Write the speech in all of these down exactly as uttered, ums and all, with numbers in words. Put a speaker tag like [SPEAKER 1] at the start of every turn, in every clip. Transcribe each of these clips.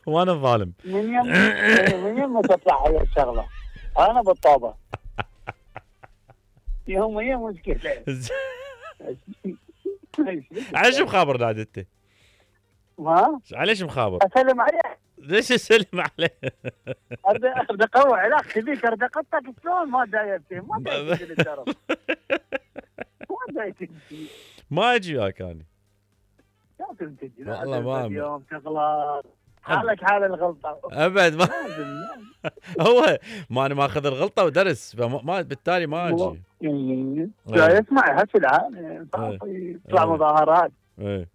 [SPEAKER 1] وانا الظالم.
[SPEAKER 2] من يم من يم تطلع هاي الشغله انا بالطابه. يوم هي مشكله.
[SPEAKER 1] عايش مخابر نادي انت؟
[SPEAKER 2] ما
[SPEAKER 1] علاش مخابر؟
[SPEAKER 2] اسلم عليه.
[SPEAKER 1] ليش اسلم عليه؟
[SPEAKER 2] ارد اقوي علاقتي بيك، ارد اقطك شلون ما دايرتي ما دايرتي للدرب. ما دايرتي.
[SPEAKER 1] ما اجي وياك انا.
[SPEAKER 2] لازم تجي.
[SPEAKER 1] والله ما
[SPEAKER 2] اليوم تغلط حالك حال الغلطه
[SPEAKER 1] ابد. ما هو ما انا ماخذ الغلطه ودرس، فما بالتالي ما اجي.
[SPEAKER 2] لا يسمع هسه العالم يطلع مظاهرات.
[SPEAKER 1] ايه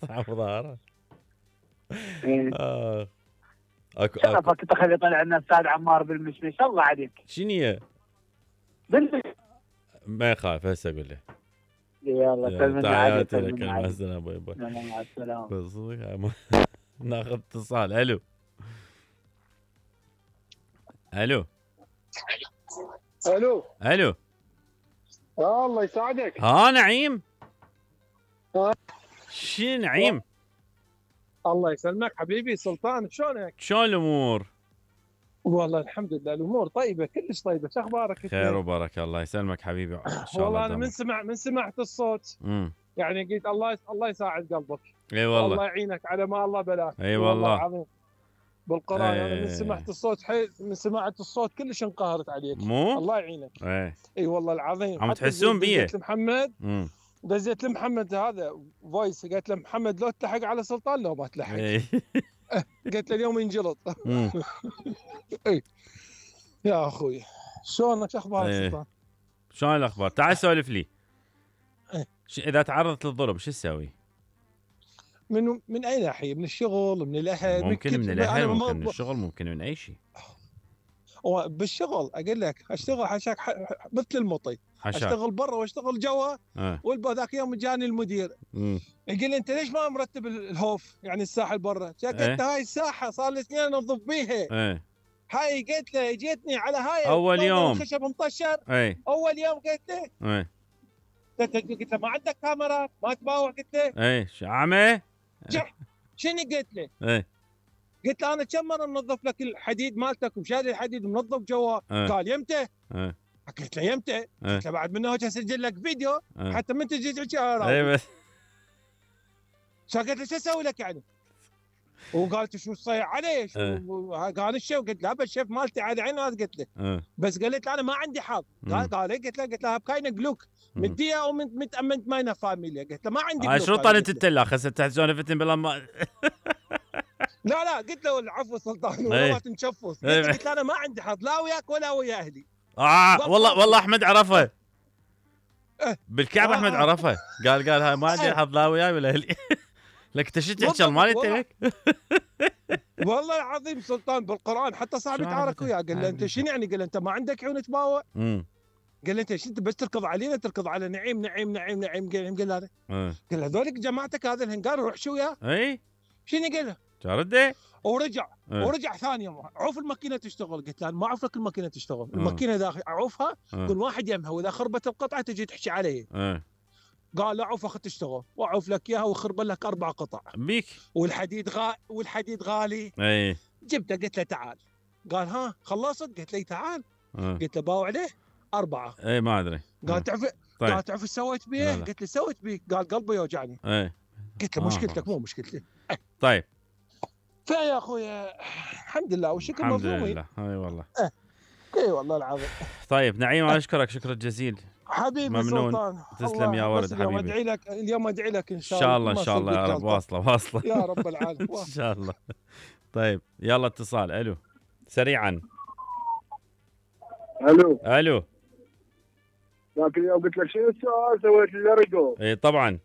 [SPEAKER 1] طلع مظاهرات. اه
[SPEAKER 2] اكو شرفك تخلي طلع لنا استاذ عمار بالمشمش. الله عليك.
[SPEAKER 1] شنو هي؟
[SPEAKER 2] بالمشمش
[SPEAKER 1] ما يخاف هسه اقول له.
[SPEAKER 2] يلا سلمنا عليك.
[SPEAKER 1] تحياتي لك. مع السلامه. باي باي.
[SPEAKER 2] مع السلامه.
[SPEAKER 1] ناخذ اتصال. الو الو
[SPEAKER 3] الو
[SPEAKER 1] الو.
[SPEAKER 3] آه الله يساعدك.
[SPEAKER 1] ها نعيم.
[SPEAKER 3] ها
[SPEAKER 1] شو نعيم؟
[SPEAKER 3] الله يسلمك حبيبي سلطان، شلونك؟
[SPEAKER 1] شلون الامور؟
[SPEAKER 3] والله الحمد لله الامور طيبه كلش طيبه. شو اخبارك؟
[SPEAKER 1] خير وبركه. الله يسلمك حبيبي. ان شاء
[SPEAKER 3] والله انا من سمع من سمعت الصوت
[SPEAKER 1] امم
[SPEAKER 3] يعني قلت الله الله يساعد قلبك.
[SPEAKER 1] اي والله.
[SPEAKER 3] الله يعينك على ما الله بلاك.
[SPEAKER 1] اي والله
[SPEAKER 3] العظيم بالقران.
[SPEAKER 1] ايه.
[SPEAKER 3] انا من سمعت الصوت حي... من سمعت الصوت كلش انقهرت عليك.
[SPEAKER 1] مو
[SPEAKER 3] الله يعينك.
[SPEAKER 1] ايه.
[SPEAKER 3] اي والله العظيم.
[SPEAKER 1] عم تحسون بيه.
[SPEAKER 3] دزيت لمحمد
[SPEAKER 1] امم
[SPEAKER 3] دزيت لمحمد هذا فويس، قالت له محمد لو تلحق على سلطان لو ما تلحق.
[SPEAKER 1] ايه.
[SPEAKER 3] قلت له اليوم ينجلط. اي يا اخوي شلونك؟ شو اخبارك
[SPEAKER 1] ايه.
[SPEAKER 3] سلطان؟
[SPEAKER 1] شلون الاخبار؟ تعال سولف لي.
[SPEAKER 3] ايه.
[SPEAKER 1] اذا تعرضت للضرب شو تسوي؟
[SPEAKER 3] من من اي ناحيه؟ من الشغل، من الاهل؟
[SPEAKER 1] ممكن من الاهل، ممكن من
[SPEAKER 3] ب...
[SPEAKER 1] الشغل، ممكن من اي شيء.
[SPEAKER 3] بالشغل اقول لك اشتغل حشاك ح... مثل المطي.
[SPEAKER 1] حشاك.
[SPEAKER 3] اشتغل برا واشتغل جوا.
[SPEAKER 1] اه.
[SPEAKER 3] والبا يوم جاني المدير
[SPEAKER 1] امم
[SPEAKER 3] يقول لي انت ليش ما مرتب الهوف يعني الساحه برا؟ قلت له هاي الساحه صار لي سنين انظف بيها.
[SPEAKER 1] ايه.
[SPEAKER 3] هاي قلت له اجيتني على هاي
[SPEAKER 1] اول يوم
[SPEAKER 3] خشب مطشر.
[SPEAKER 1] ايه.
[SPEAKER 3] اول يوم قلت له
[SPEAKER 1] ايه.
[SPEAKER 3] قلت له ما عندك كاميرا ما تباوع؟ قلت له
[SPEAKER 1] ايه شعمه.
[SPEAKER 3] شنو قلت له؟
[SPEAKER 1] ايه.
[SPEAKER 3] قلت له انا كم مره منظف لك الحديد مالتك وشاري الحديد ومنظف جوا.
[SPEAKER 1] اه.
[SPEAKER 3] قال يمتى؟
[SPEAKER 1] ايه.
[SPEAKER 3] قلت له يمتى؟
[SPEAKER 1] اه.
[SPEAKER 3] قلت له بعد منه اسجل لك فيديو
[SPEAKER 1] اه.
[SPEAKER 3] حتى من تجي تحكي انا
[SPEAKER 1] ايه بس
[SPEAKER 3] قلت له شو اسوي لك يعني؟ وقالت شو تصيح عليه؟ قال الشيف. قلت له الشيف مالتي على عيني. قلت له
[SPEAKER 1] اه.
[SPEAKER 3] بس قالت له انا ما عندي حظ. قال قال قلت له قلت له بكاينه جلوك مديه او من متامنت ماينا فاميليا. قلت له ما عندي جلوك.
[SPEAKER 1] شو طالت التلا خسه تحت سونفتن بلا ما.
[SPEAKER 3] لا لا قلت له العفو سلطان ولا تنشفص. قلت له انا ما عندي حظ لا وياك ولا ويا اهلي.
[SPEAKER 1] اه والله والله احمد عرفه بالكعب. احمد عرفه قال قال هاي ما عندي حظ لا وياي ولا اهلي. لك انت شو تحكي مالي انت لك؟
[SPEAKER 3] والله العظيم سلطان بالقران. حتى صاحبي تعارك وياه قال له انت شنو يعني؟ قال له انت ما عندك عيون تباوع؟ قال له انت شو انت بس تركض علينا تركض على نعيم نعيم نعيم نعيم قال قال هذا قال له هذولك جماعتك هذا الهنقار روح شو وياه؟ اي شنو قال له؟ رده ورجع أه. ورجع ثاني يوم عوف الماكينه تشتغل. قلت له ما اعرف لك الماكينه تشتغل. أه. الماكينه اذا اعوفها كل واحد يمها واذا خربت القطعه تجي تحكي علي. أه. قال لا عوف اخذ تشتغل واعوف لك اياها وخرب لك اربع قطع بيك. والحديد غا والحديد غالي. اي جبته قلت له تعال. قال ها خلصت؟ قلت له تعال. أه. قلت له باوع عليه اربعه. اي ما ادري. قال تعرف طيب. قال تعرف ايش سويت بيه؟ قلت له سويت بيه. قال قلبي يوجعني. اي قلت له مشكلتك مو مشكلتي. طيب فيا اخويا الحمد لله والشكر مظلومين. الحمد لله. اي والله. اه. اي والله العظيم. طيب نعيم انا اشكرك شكر الجزيل حبيبي ممنون. سلطان تسلم يا ولد حبيبي. اليوم ادعي لك اليوم ادعي لك ان شاء الله. ان شاء الله ان شاء الله يا رب. واصله واصله يا رب العالمين. ان شاء الله. طيب يلا اتصال. الو سريعا.
[SPEAKER 2] الو
[SPEAKER 1] الو.
[SPEAKER 2] ذاك اليوم قلت لك شنو السؤال سويت لارجو؟
[SPEAKER 1] اي طبعا.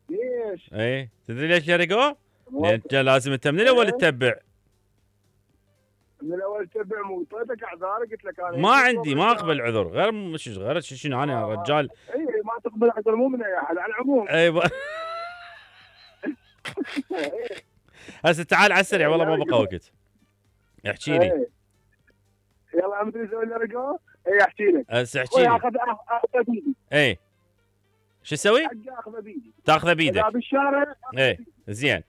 [SPEAKER 2] ليش؟
[SPEAKER 1] اي تدري ليش لارجو؟ لان انت لازم انت من الاول تتبع.
[SPEAKER 2] من الاول تتبع مو اعطيتك اعذار قلت لك انا
[SPEAKER 1] ما عندي ما اقبل عذر غير مش غير شنو انا آه. رجال.
[SPEAKER 2] اي ما تقبل عذر مو من اي احد على العموم.
[SPEAKER 1] اي ب... هسه تعال على السريع والله ما بقى وقت. احكي لي.
[SPEAKER 2] يلا عم تسوي لي رقم؟ اي احكي لك.
[SPEAKER 1] هسه احكي لي.
[SPEAKER 2] اخذ اخذ بيدي.
[SPEAKER 1] اي شو تسوي؟
[SPEAKER 2] اخذه بيدي.
[SPEAKER 1] تاخذه بيدك.
[SPEAKER 2] بالشارع.
[SPEAKER 1] اي زين.